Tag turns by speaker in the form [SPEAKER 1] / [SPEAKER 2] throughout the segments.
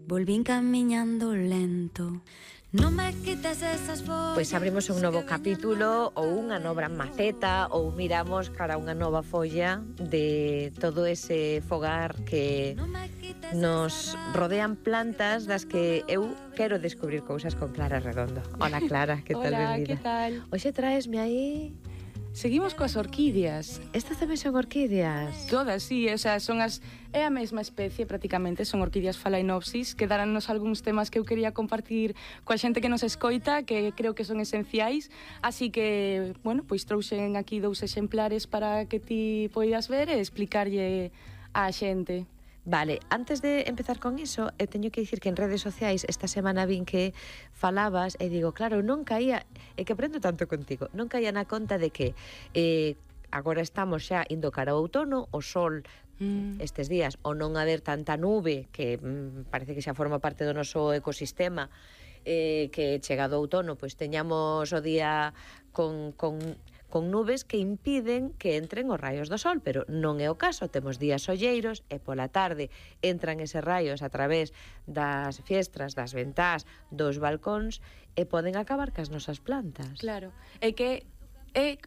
[SPEAKER 1] volvín camiñando lento. Non me quites esas follas.
[SPEAKER 2] Pois abrimos un novo capítulo ou unha nova maceta ou miramos cara a unha nova folla de todo ese fogar que nos rodean plantas das que eu quero descubrir cousas con Clara Redondo. Hola Clara, que tal,
[SPEAKER 3] Hola,
[SPEAKER 2] benvida?
[SPEAKER 3] que tal?
[SPEAKER 2] Hoxe traesme aí...
[SPEAKER 3] Seguimos coas orquídeas.
[SPEAKER 2] Estas tamén son orquídeas?
[SPEAKER 3] Todas, sí, o sea, son as... É a mesma especie, prácticamente, son orquídeas phalaenopsis, que darannos algúns temas que eu quería compartir coa xente que nos escoita, que creo que son esenciais, así que, bueno, pois trouxen aquí 2 exemplares para que ti poidas ver e explicarlle á xente.
[SPEAKER 2] Vale, antes de empezar con iso, eu teño que dicir que en redes sociais esta semana vin que falabas e digo, claro, non caía, é que aprendo tanto contigo, non caía na conta de que agora estamos xa indo cara ao outono, o sol estes días, o non haber tanta nube que parece que xa forma parte do noso ecosistema, que chegado o outono pois teñamos o día con nubes que impiden que entren os raios do sol, pero non é o caso, temos días solleiros e pola tarde entran eses raios a través das fiestras, das ventás, dos balcóns e poden acabar cas nosas plantas.
[SPEAKER 3] Claro, é que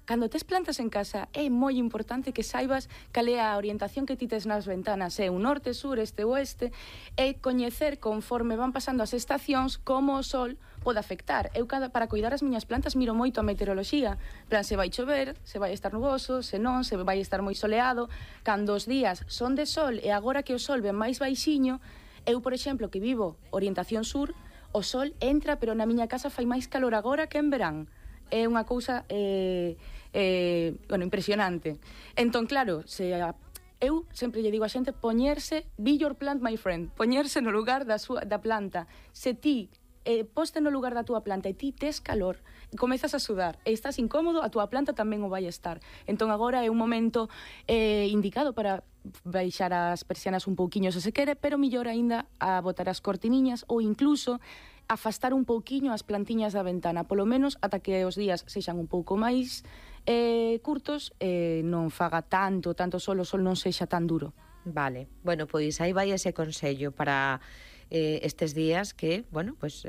[SPEAKER 3] cando tes plantas en casa é moi importante que saibas cal é a orientación que ti tes nas ventanas, é un norte, sur, este, oeste, e coñecer conforme van pasando as estacións como o sol pode afectar. Eu para cuidar as miñas plantas miro moito a meteoroloxía, plan, se vai chover, se vai estar nuboso, se non, se vai estar moi soleado. Cando os días son de sol e agora que o sol ven máis baixiño, eu, por exemplo, que vivo orientación sur, o sol entra, pero na miña casa fai máis calor agora que en verán. É unha cousa bueno, impresionante. Entón, claro, eu sempre lle digo a xente poñerse, be your plant, my friend, poñerse no lugar da planta. Se ti poste no lugar da túa planta e ti tes calor, comezas a sudar e estás incómodo, a túa planta tamén o vai estar. Entón agora é un momento indicado para baixar as persianas un pouquiño se quere, pero mellor aínda a botar as cortiniñas ou incluso afastar un pouquiño as plantiñas da ventana, polo menos ata que os días sexan un pouco máis curtos e non faga tanto sol, o sol non sexa tan duro.
[SPEAKER 2] Vale, bueno, pois aí vai ese consello para estes días que, bueno, pois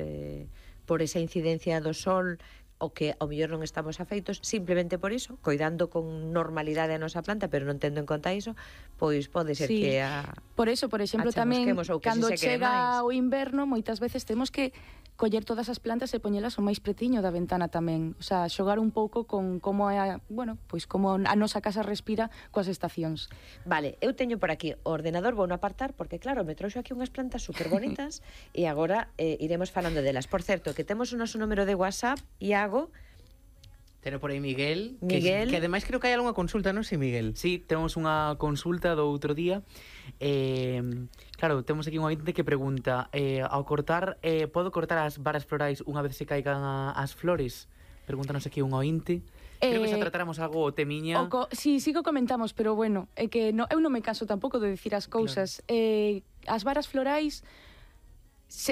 [SPEAKER 2] por esa incidencia do sol o que ao mellor non estamos afeitos, simplemente por iso, coidando con normalidade a nosa planta, pero non tendo en conta iso, pois pode ser
[SPEAKER 3] sí.
[SPEAKER 2] que
[SPEAKER 3] por eso, por exemplo, tamén cando chega o inverno, moitas veces temos que coller todas as plantas e poñelas o máis pretiño da ventana tamén, o sea, xogar un pouco con como é, bueno, pois como a nosa casa respira coas estacións.
[SPEAKER 2] Vale, eu teño por aquí o ordenador, vou no apartar, porque claro, me trouxo aquí unhas plantas super bonitas e agora iremos falando delas. Por certo, que temos o noso número de WhatsApp, Iago.
[SPEAKER 4] Teno por aí Miguel.
[SPEAKER 2] Miguel.
[SPEAKER 4] Que ademais creo que hai algunha consulta, non sei, Miguel?
[SPEAKER 5] Sí, temos unha consulta do outro día. Claro, temos aquí un ointe que pregunta ao cortar, podo cortar as varas florais unha vez se caigan as flores? Pregúntanos aquí un ointe. Creo que xa tratáramos algo o temiña.
[SPEAKER 3] Sí, sí que comentamos, pero bueno, é que eu non me canso tampouco de dicir as cousas. Claro. As varas florais...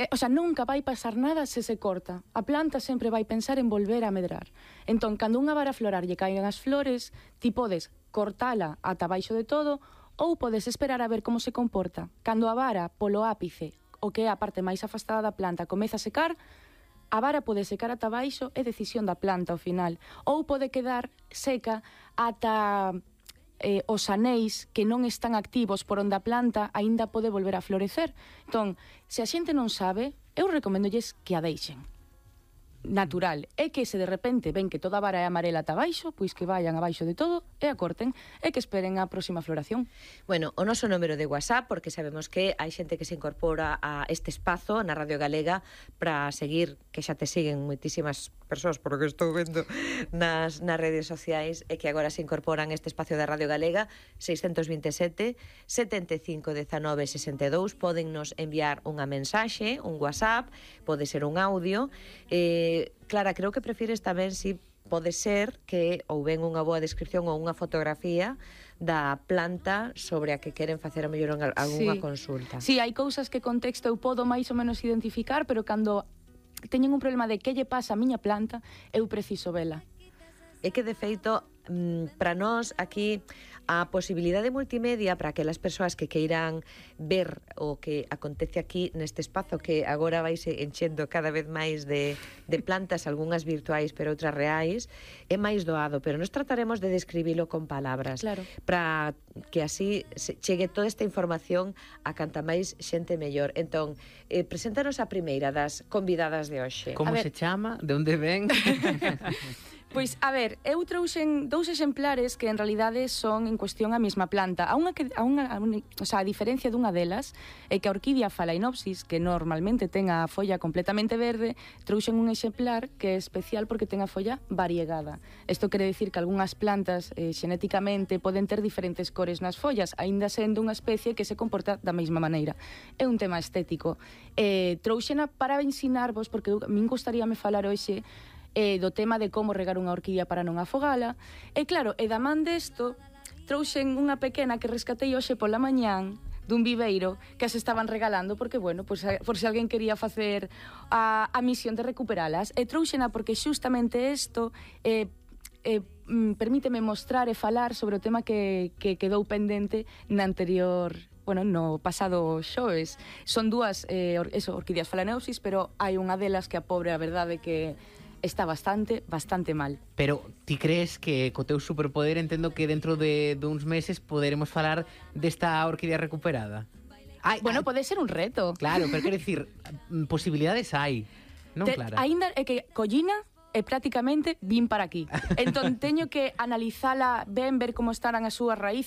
[SPEAKER 3] o sea, nunca vai pasar nada se se corta. A planta sempre vai pensar en volver a medrar. Entón, cando unha vara florar lle caigan as flores, ti podes cortala ata baixo de todo ou podes esperar a ver como se comporta. Cando a vara polo ápice, o que é a parte máis afastada da planta, comeza a secar, a vara pode secar ata baixo, é decisión da planta ao final. Ou pode quedar seca ata... os anéis que non están activos por onde a planta aínda pode volver a florecer. Entón, se a xente non sabe, eu recoméndolles que a deixen natural. É que se de repente ven que toda a vara é amarela ata baixo, pois que vayan abaixo de todo e a corten e que esperen a próxima floración.
[SPEAKER 2] Bueno, o noso número de WhatsApp, porque sabemos que hai xente que se incorpora a este espazo na Radio Galega para seguir, que xa te siguen moitísimas persoas, por lo que estou vendo nas redes sociais, e que agora se incorporan a este espacio da Radio Galega. 627 75 19 62, podennos enviar unha mensaxe, un WhatsApp, pode ser un audio. Clara, creo que prefires tamén, si pode ser que ou ven unha boa descripción ou unha fotografía da planta sobre a que queren facer a mellor algunha consulta.
[SPEAKER 3] Sí, hai cousas que con texto eu podo máis ou menos identificar, pero cando teñen un problema de que lle pasa a miña planta, eu preciso vela.
[SPEAKER 2] É que, de feito, para nós aquí A posibilidade multimedia para aquelas persoas que queiran ver o que acontece aquí neste espazo que agora vaise enchendo cada vez máis de plantas, algunhas virtuais pero outras reais, é máis doado, pero nos trataremos de describilo con palabras,
[SPEAKER 3] Claro.
[SPEAKER 2] para que así chegue toda esta información a canta máis xente mellor. Entón, preséntanos a primeira das convidadas de hoxe.
[SPEAKER 4] Como
[SPEAKER 3] A ver.
[SPEAKER 4] se chama? De onde ven?
[SPEAKER 3] Pois, a ver, eu trouxen 2 exemplares que en realidade son en cuestión a mesma planta. O sea, a diferencia dunha delas é que a orquídea Phalaenopsis, que normalmente ten a folla completamente verde, trouxen un exemplar que é especial porque ten a folla variegada. Isto quere dicir que algunhas plantas xenéticamente poden ter diferentes cores nas follas, aínda sendo unha especie que se comporta da mesma maneira. É un tema estético. Trouxena para ensinarvos, porque a min gustaríame falar hoxe do tema de como regar unha orquídea para non afogala. E claro, e da man desto, trouxen unha pequena que rescatei hoxe pola mañán dun viveiro que as estaban regalando porque, bueno, pues, por se alguén quería facer a misión de recuperalas. E trouxena porque xustamente isto permíteme mostrar e falar sobre o tema que quedou pendente na anterior... Bueno, no pasado xoves. Son 2 orquídeas Phalaenopsis, pero hai unha delas que a pobre, a verdade, que está bastante mal.
[SPEAKER 4] Pero ti crees que co teu superpoder entendo que dentro de uns meses poderemos falar desta orquídea recuperada?
[SPEAKER 3] Bueno, pode ser un reto.
[SPEAKER 4] Claro, pero quero dicir, posibilidades hai, non, Clara?
[SPEAKER 3] Aínda é que collina e prácticamente vin para aquí. Entón teño que analizala ben, ver como estarán as súas raíces,